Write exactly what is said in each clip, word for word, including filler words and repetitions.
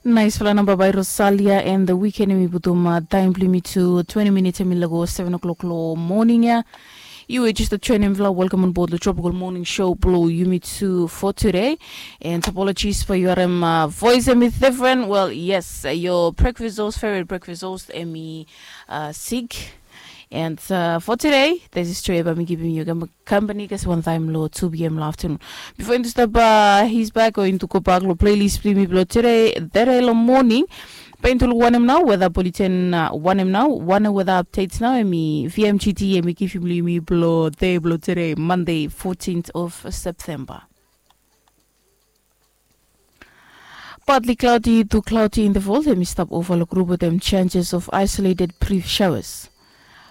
Naisfala namba bai Rosalia and the Weekend. Yumi putum taem blong yumi tu twenti minits, em i lago seven o'clock long moning ya. Yu we just joinim, welcome on board the Tropical Morning Show blong yumi tu for today. And apologies for your um, uh, voice, em i different. Well, yes, uh, your breakfast host, favorite breakfast host, em i uh, sick. And uh, for today, this is Trevor, mi givim yu company kasi wan taem long two p.m. long afternoon. Before into step uh, his back or into go back long playlist blong yumi blong today, today long moning. Bae into luk wanem nao weather bulletin, uh, wanem nao, wanem weather updates nao, em i V M G T, em i givim long yumi blong day blong today, Monday, fourteenth of September. Partly cloudy to cloudy intervals, em i stap ova long grup wetem chances of isolated brief showers.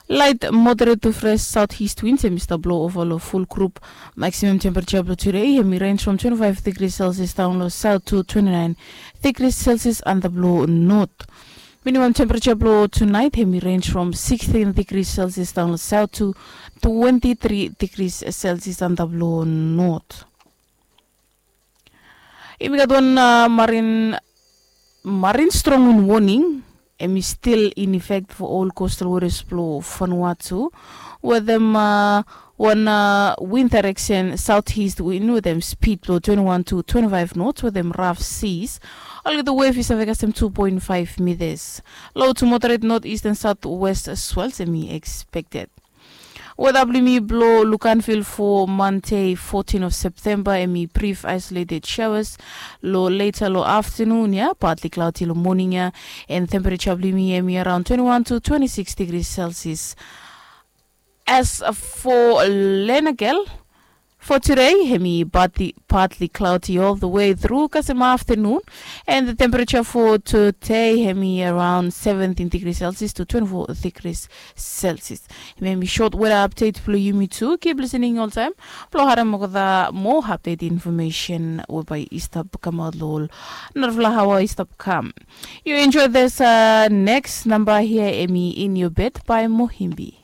Light moderate to fresh southeast winds, em i stap blo ova long ful grup. Maximum temperature blong today, em i range from twenty-five degrees Celsius down long south to twenty-nine degrees Celsius under blong north. Minimum temperature blong tonight, em i range from sixteen degrees Celsius down long south to twenty-three degrees Celsius under blong north. Yumi gat wan uh, marine, marine strong wind warning, em i still in effect for all coastal waters blong Vanuatu. Wetem uh, wan uh, wind direction southeast wind wetem speed blong twenty-one to twenty-five knots wetem rough seas. Olgeta wave i save kasem two point five meters. Low to moderate northeast and southwest swells, em i expected. Weather blong yumi blong Luganville for Monday, fourteen of September, em i brief isolated showers. Long later long afternoon ya, partly cloudy long morning ya, and temperature blong yumi em i around twenty-one to twenty-six degrees Celsius. As for Lenakel, for today, em i partly, partly cloudy all the way through kasem afternoon, and the temperature for today, em i around seventeen degrees Celsius to twenty-four degrees Celsius. Em i short weather update blong yumi tu. Keep listening oltaem blong harem olgeta moa update information we bae i stap kamaot long ol narafala aoa i stap kam. You enjoy this uh, next number here, em i In Your Bed by Mohimbi.